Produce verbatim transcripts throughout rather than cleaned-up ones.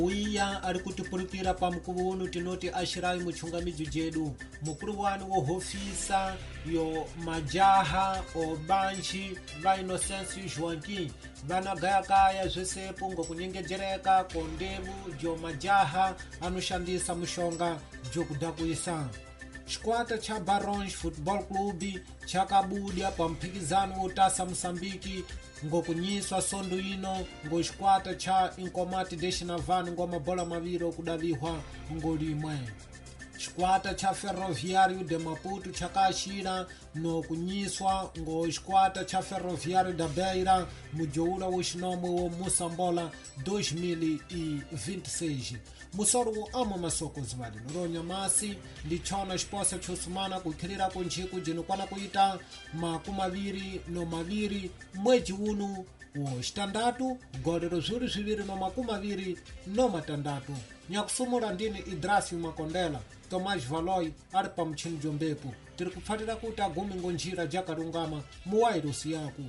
Uya ari kutipurukira pa mukuvo uno tinoti ashirai muchungamidzi jedu mukuru wani wo hofisa yo majaha obanji va Inocencio Joaquim vanagayakaya zvesepo ngokunyengejereka ko ndevu jo majaha anoshandisa mushonga jokudhakuisa. Chikwata cha Barões Football Club chakabuda pa mphikizano wotasa Moçambique ngokunyiswa sondo ino ngo chikwata cha Inkomati de Xinavane ngo mabola maviri okudavihwa ngolimwe. Chikwata cha Ferroviário de Maputo chakaxira no kunyiswa ngo chikwata cha Ferroviário da Beira mujoula wo xinomwe wo Moçambola dois mil e vinte e seis. Musoro wo ama masoko zivali noronha masi ndi chona xiposa chosumana kukhirira ko njiku jinokwana kuita makumaviri no maviri mwedzi uno wo xitandatu golero zviwiri zviviri no makumaviri no matandatu. Nyakusumula ndini Idrasio Makondela, Tomás Valoi ari pa mutchini jombepo. Tiri kupfatira kuti agume ngonjira jakalungama muwairusi yaku.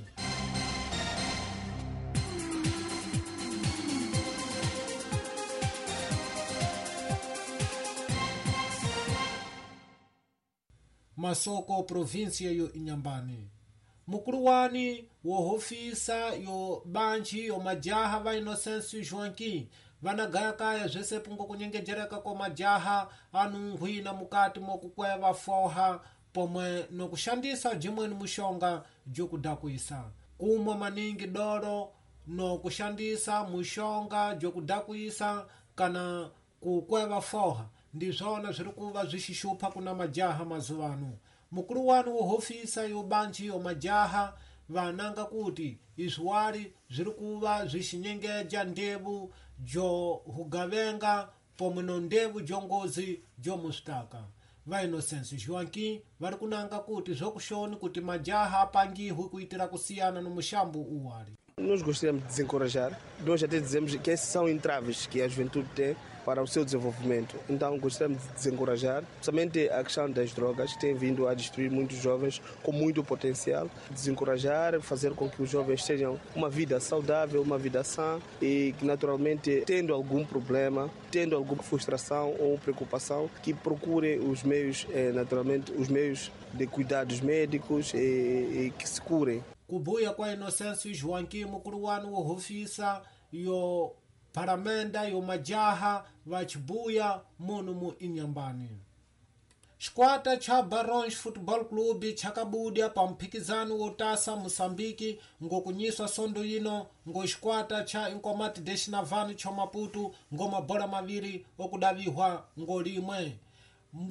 Masoko província yo Inhambane. Mukuru wani wo hofisa yo banji yo majaha va Inocencio Joaquim vanagayakaya zvesepo ngokunyengejereka ko majaha anunghwina mukati mokukweva foha pomwe nokushandisa jimweni mushonga jokudhakuisa. Kumwa maningi doro nokushandisa mushonga jokudhakuisa kana kukweva foha ndizvona zviri kuva zvishishupha kuna majaha mazuvano. Mukuru wani wo hofisa yo banji yo majaha vananga kuti izviwari zviri kuva zvichinyengeja ndevu jo hugavenga pomwe no ndevu jongozi jomusitaka. Va Inocencio Joaquim vari kunanga kuti zvokushoni kuti majaha apangihwe kuitira kusiyana no mushambo uwari. Nós gostaríamos de desencorajar, nós até dizemos que esses são entraves que a juventude tem para o seu desenvolvimento. Então gostaríamos de desencorajar, somente a questão das drogas, que tem vindo a destruir muitos jovens com muito potencial. Desencorajar, fazer com que os jovens tenham uma vida saudável, uma vida sã e que naturalmente, tendo algum problema, tendo alguma frustração ou preocupação, que procurem os meios, naturalmente, os meios de cuidados médicos e, e que se curem. Kubuya kwa Inocencio Joaquim mukuru wani wo hofisa yo paramenda yo majaha vachibuya muno mu Inhambane. Chikwata cha Barões Football Club chakabuda pa mphikizano wotasa Moçambique ngokunyiswa sondo ino ngo chikwata cha Inkomati de Xinavane cho Maputo ngo mabola maviri okudavihwa ngolimwe.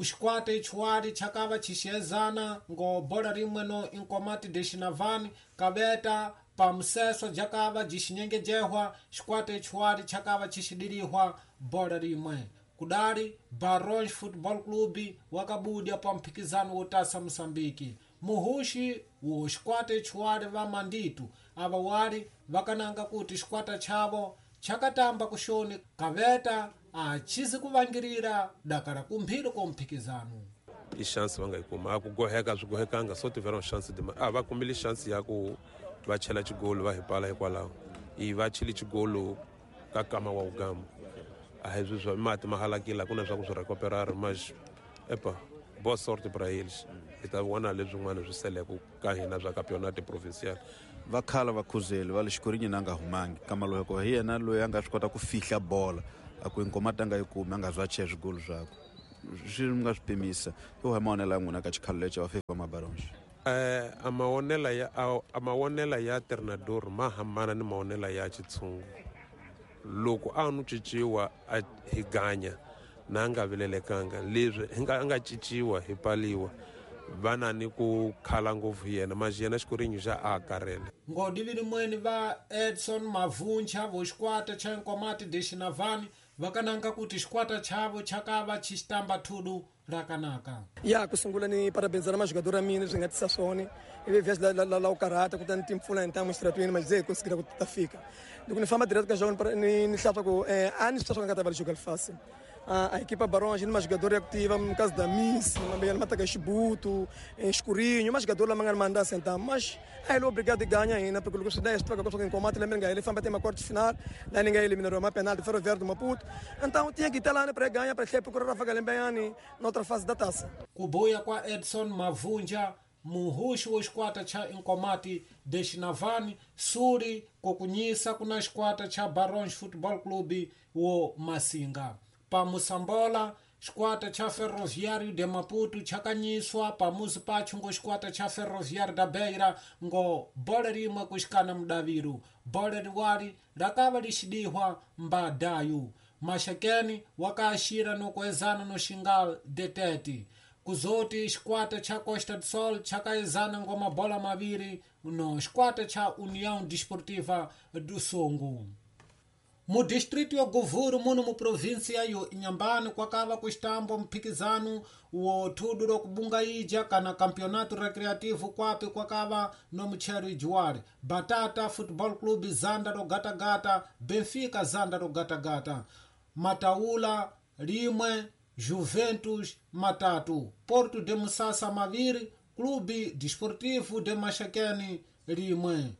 Chikwata ichiwari chakava chixezana ngo bola rimwe no Inkomati de Xinavane kaveta pa museso jakava jixinyengejerwa. Chikwata ichiwari chakava chixidilihwa bola rimwe. Kudari Barões Football Club wakabuda pa mphikizano wotasa Moçambique. Muhuxi wo xikwata ichiwari va Manditu ava wari vakananga kuti xikwata chavo chakatamba kuxoni kaveta achizi kuvangirira dakara kumphiri ko mphikizano. I chance va nga yi kuma a ku goheka swi gohekanga so tiveram chance de a va kumile chance ya ku va chela xigolo va hi pala hikwalaho i va chile xigolo ka kama wa ugamba a hi swi mati ma halakile ku na swa ku swi recuperar mas epa boa sorte para eles hi ta vona leswin'wana swi seleke ka hina swa campeonato provincial. Va khala va khuzeli va le xikorinyi na nga humangi kama loko hi yena loyi a nga swi kota ku fihla bola a ku Inkomati a nga yi kumi a nga zwa cheya swigolo swakwe swi nga swi pimisa yo hi mavonelo ya n'wina ka xikhalo lexi va fika Mabarões. Eh a mavonelo ya a mavonelo ya treinador ma hambana ni mavonelo ya xitshungu. Loko a no cinciwa a hi ganya na nga vilelekanga leswi hi nga a nga cinciwa hi paliwa vana ni ku khala ngopfu yena mas yena xikorinyi xa a karele. Ngodivili mweni va Edson Mavuncha vo xikwata cha Inkomati de Xinavane vakananga kuti xikwata chavo chakava xixitamba thudu rakanaka. Ya kusungula ni parabéns na jogador a mina swi nga tisa swona ivi vhesi la la la karata kutani timpfula hi ntamu xitratweni mas ze conseguir ku ta fika loko ni famba direct ka jogo ni ni hlapa ku eh a ni swi nga ta va jogo fácil A, a equipa Barões, uma jogadora ativa, no caso da Miss, uma Chibuto, Escurinho, uma jogadora lá mandar sentar, mas ele é obrigado a ganhar ainda, porque o dez troca com o combate, lembra ele foi bater uma quarta final, lá ninguém eliminou uma penalti, Ferroviário do Maputo, então tinha que estar lá para ganhar, para procurar a Galembeani na outra fase da taça. Kubuya kwa Edson Mavunja, muhuxi wa xikwata xa Inkomati de Xinavani, suri kukunyisa kuna xikwata xa Barões Football Club wo Masinga. Pa Moçambola, xikwata xa Ferroviário de Maputo chakanyiswa pamuzi pacho ngo xikwata xa Ferroviário da Beira ngo bola rimwe kuxikana mudaviru. Bola riwari rakava lixidihwa mbadayu. Maxakeni wakaxira nokuezana no Xingal de Tete. Kuzoti xikwata xa Costa do Sol chakaezana ngo mabola maviri no xikwata xa União Desportiva do Songo. Mu distrito ya Govuro, muno mu província yo Inhambane, kwakava kuxtambo mphikizano wo thudu lokubungaija kana campeonato recreativo kwapi kwakava no muchero ijuwari. Batata Football Club zanda rogatagata, Benfica zanda rogatagata, Mataula rimwe, Juventus matatu, Porto de Musasa maviri, Clube Desportivo de Maxaquene rimwe,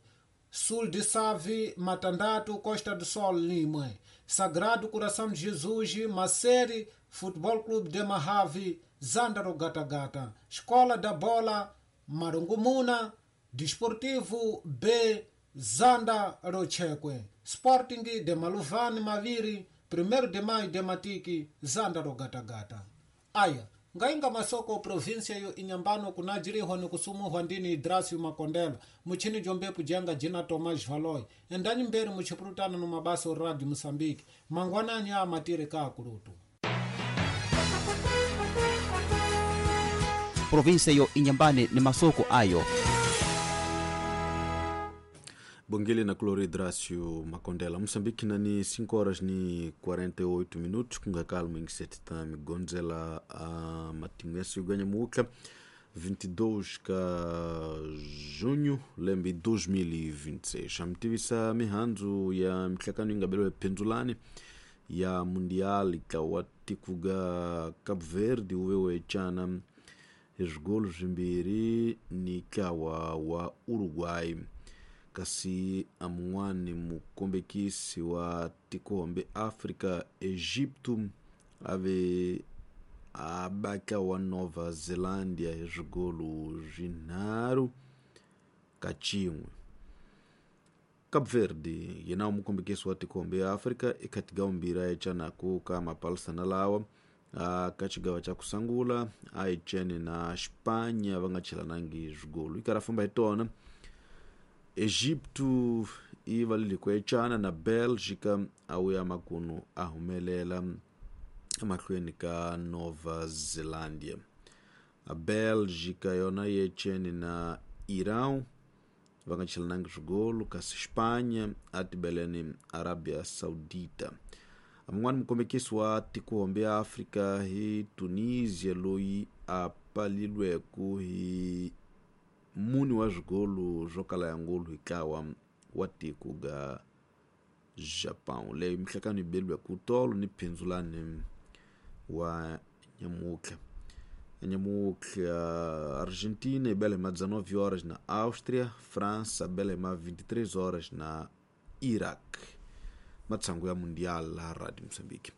Sul de Save, Matandatu, Costa do Sol, Lima, Sagrado Coração de Jesus, Maceri, Futebol Clube de Mahave, Zandaro Gata Gata, Escola da Bola, Marungumuna, Desportivo B, Zanda Rocheque, Sporting de Maluvane, Maviri, primeiro de Maio de Matiki, Zandaro Gata Gata. Aya, ngainga masoko província yo Inhambano kunajirihwa nikusumuhwa ndini Idrasio Makondela muchini jombepu jenga jina Tomás Valoi endanyi mberi muchipurutana no mabasa o Radio Moçambique mangwananyi a matiri ka kurutu. Província yo Inhambane ni masoko ayo. Bongele na Cloro Idrasio Makondela. Moçambique nani cinco horas ni quarenta e oito minutos, com calma em sete tami Gonzela a Matinense ganha muca vinte e dois de junho lembe dois mil e vinte e seis. Amtivisa mihanzu ya mtlakano ingabelo penzulani ya Mundial ikawatikuga Cabo Verde uwewe chana esgolos mbiri ni kawa wa Uruguai. Kasi amuani mukombekisi wa tikombe Afrika Egipto ave abaka wa Nova Zelândia esgolo jinaru kachimwe. Cabo Verde yena mukombekisi wa tikombe Afrika ikatiga umbira echanaku kama palsana lawa kachigawa cha kusangula aichene na Espanha vangachilanangi esgolo ikarafamba itona Egipto ivalilikwechana na Bélgica auya makuno ahumelela emahlweni ka Nova Zelândia. A Bélgica yona yechene na Irão vangachilanangi swigolo kasi Espanha atibeleni Arábia Saudita. Amungwani mukombekisi wa tikuhombe ya Afrika hi Tunisia loyi apalilweku hi muni wa swigolo swo kala ya ngulu hikawa wa tiko ga Japão. Leyo mihlakano yi beliwa ku tolo ni phindzulani wa nyamutlha. Nyamutlha Argentina yi bela hi ma dezenove horas na Áustria, França bela hi ma vinte e três horas na Iraq. Matsangu ya Mundial la Radio Moçambique.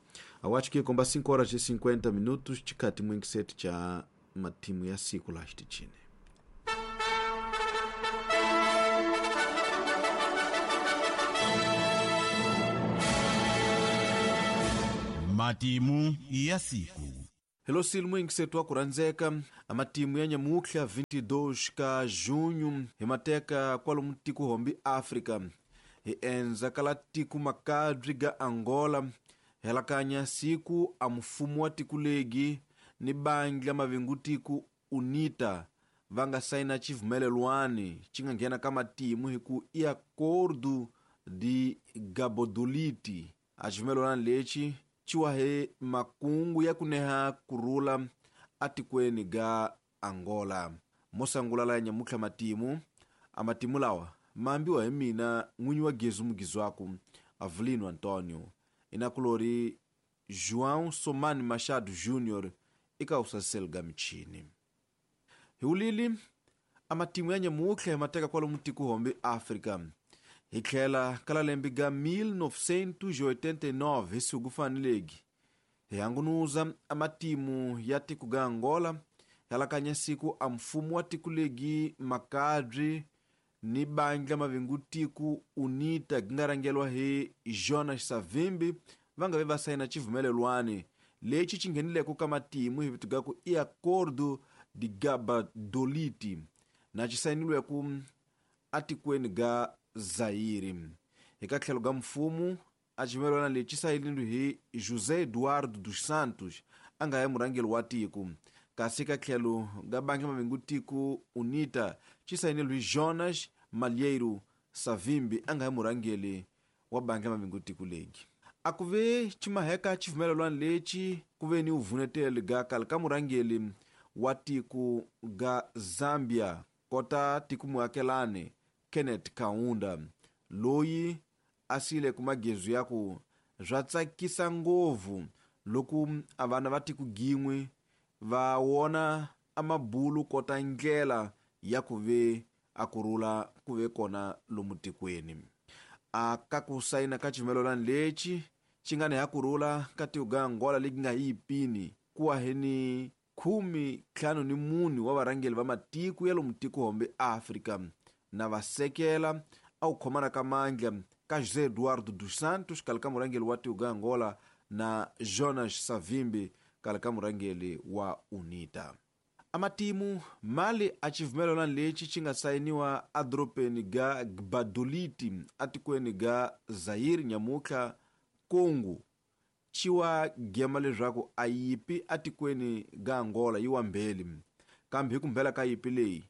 Awachi ki komba cinco horas e cinquenta minutos chikati mwingiseti cha matimu ya siku la xitichini. Matimu ya siku. Hello silmu ingisetu akuranzeka amatimu ya nyamukhla vinte e dois ka junho himateka kwalomu tiko hombi Afrika hi enza kala tiko makadri ga Angola helakanya siku a mfumo wa tiko legi ni bangi la mavingu tiko UNITA vanga saina chivumelelwani chinga nghena ka matimu hi ku i acordo de Gabodoliti. A chivumelelwani lexi chiwahe makungu ya kuneha kurula atikweni ga Angola. Mosangula la nyamukhla matimu amatimu lawa maambiwa hi mina n'winyi wa gezu mugizwaku Avelino Antonio inakulori João Somani Machado Júnior eka usasel ga michini. Hiulili amatimu ya nyamutlha hi mateka kwalomu tikuhombe Afrika. Hi tlhela ka lembe ga mil novecentos e oitenta e nove hi siku fanelegi. Hi hangunuza amatimu ya tiko ga Angola yalakanya siku a mfumo wa tiko legi makadri ni bandla mavingu tiku UNITA gingarangelwa hi Jonas Savimbi va nga ve va sayina xivumelelwani lexi xi nghenileke ka matimu hi vito ga ku i Acordo de Gbadolite na xi sayinilweke atikweni ga Zaire. Eka tlhelo ga mfumo a xivumelelwana lexi sayinilwe hi José Eduardo dos Santos a nga ya murhangeri wa tiko, kasi ka tlhelo ga bandla mavingu tiko UNITA xi sayinilwe hi Jonas Malheiro Savimbi a nga ya murhangeri wa bandla mavingu tiko legi. A ku ve ximaheka xivumelelwana lexi ku ve ni vuneteli ga kale ka murhangeri wa tiko ga Zambia kota tiko muakelani Kenneth Kaunda loyi a sile ku magezu ya ku swa tsakisa ngopfu loko a vana va tiko gin'we va wona amabulu kota ndlela ya ku ve a kurhula ku ve kona lomu tikweni. A ka ku sayina ka xivumelelwana lexi xi nga ni ya kurhula ka tiko ga Angola legi nga hi yipini ku wa hi ni khume ntlhanu ni mune wa varhangeri va matiko ya lomu tikuhombe Afrika na va sekela a ku khomana ka mandla ka José Eduardo dos Santos kale ka murhangeri wa tiko ga Angola na Jonas Savimbi kale ka murhangeri wa UNITA. Amatimu mali a xivumelelwana lexi xi nga sayiniwa edorobeni ga Gbadolite atikweni ga Zaire nyamutlha Congo xi wa gema leswaku a yipi atikweni ga Angola yi wa mbeli, kambe hi ku mbela ka yipi leyi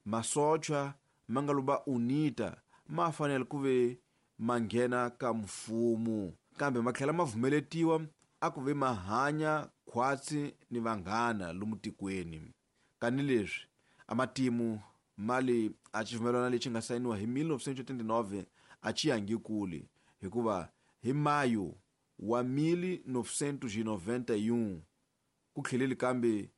masocha ma nga luba UNITA ma fanele ku ve ma nghena ka mfumo, kambe ma tlhela ma vumeletiwa a ku ve ma hanya khwatsi ni vanghana lomu tikweni. Kani leswi amatimu mali a xivumelelwana lexi nga sayiniwa hi mil novecentos e oitenta e nove a xi yangi kule, hikuva hi mayo wa mil novecentos e noventa e um ku tlheleli kambe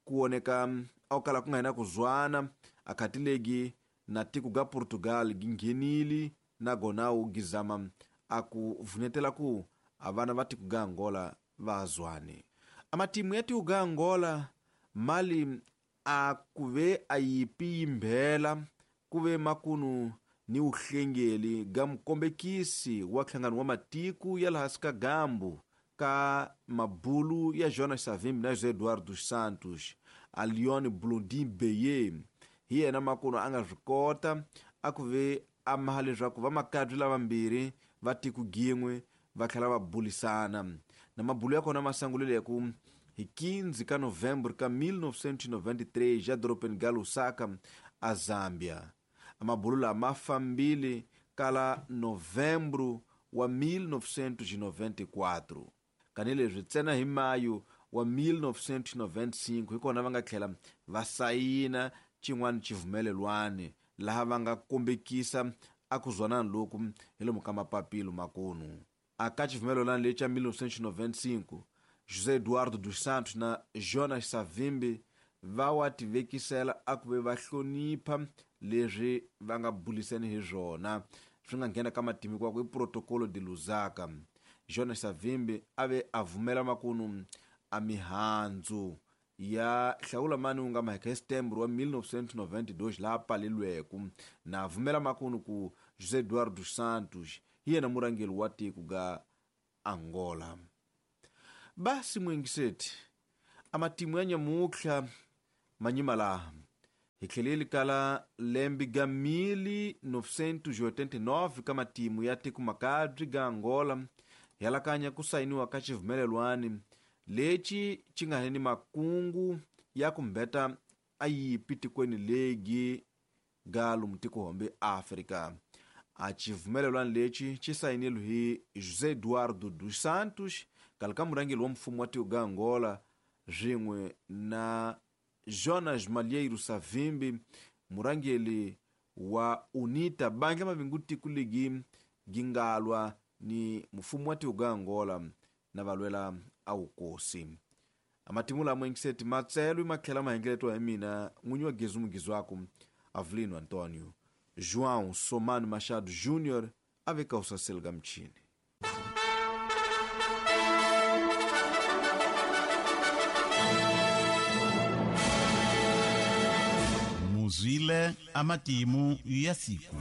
ku voneka a ku kala ku nga hina ku zwana akhatilegi na tiko ga Portugal gi nghenile na gona wu gizama a ku vunetela ku a vana va tiko ga Angola va zwane. Amatimu ya tiko ga Angola mali a ku ve a yipi yimbhela ku ve makunu ni uhlengeli ga mukombekisi wa nhlangano wa matiko ya laha hansi ka gambu ka mabulu ya Jonas Savimbi na José Eduardo dos Santos a Leon Blondin Beye hi yena makunu a nga swi kota a ku ve a maha leswaku va makadri lavambirhi va tiko gin'we va tlhela va bulisana na mabulu ya kona ma sangulile ku hi quinze ka novembro ka mil novecentos e noventa e três ya dorobeni ga Lusaka a Zambia. Amabulu lama fambile kala novembro wa mil novecentos e noventa e quatro. Kani leswi ntsena hi mayo wa mil novecentos e noventa e cinco hi kona va nga tlhela va sayina xin'wana xivumelelwani laha va nga kombekisa a ku zwanana loku hi lomu ka mapapilo makunu. A ka xivumelelwani lexi xa mil novecentos e noventa e cinco José Eduardo dos Santos na Jonas Savimbi va wa tivekisela a ku ve va hlonipha leswi va nga buliseni hi swona swi nga nghena ka matimu kwa i Protocolo de Lusaka. Jonas Savimbi a ve a vumela makunu a mihandzu ya hlawula mani wu nga maheka hi Setembro wa mil novecentos e noventa e dois laha palelweku na vumela makunu ku José Eduardo dos Santos hi yena murhangeri wa tiko ga Angola. Basi mwingiseti amatimu ya nyamutlha manyima laha hi tlheleli kala lembe ga mil novecentos e oitenta e nove ka matimu ya tiko makadri ga Angola yalakanya ku sayiniwa ka xivumelelwani lexi xi nga ni makungu ya ku mbeta a yipi tikweni legi ga lomu tikuhombe Afrika. A xivumelelwani lexi xi sayinilwe hi José Eduardo dos Santos kale ka murhangeri wa mfumo wa tiko ga Angola swin'we na Jonas Malheiro Savimbi murhangeri wa UNITA bandla mavingu tiko legi gingalwa ni mfumo wa tiko ga Angola na va lwela a wukosi. Amatimu lama engiseti matselwi matlhela mahengeletwa hi mina n'winyi wa Gezu Mugizwaku Avelino Antonio. João Somano Machado Júnior a veka usaselo ga mchini. Muzwile amatimu ya siku.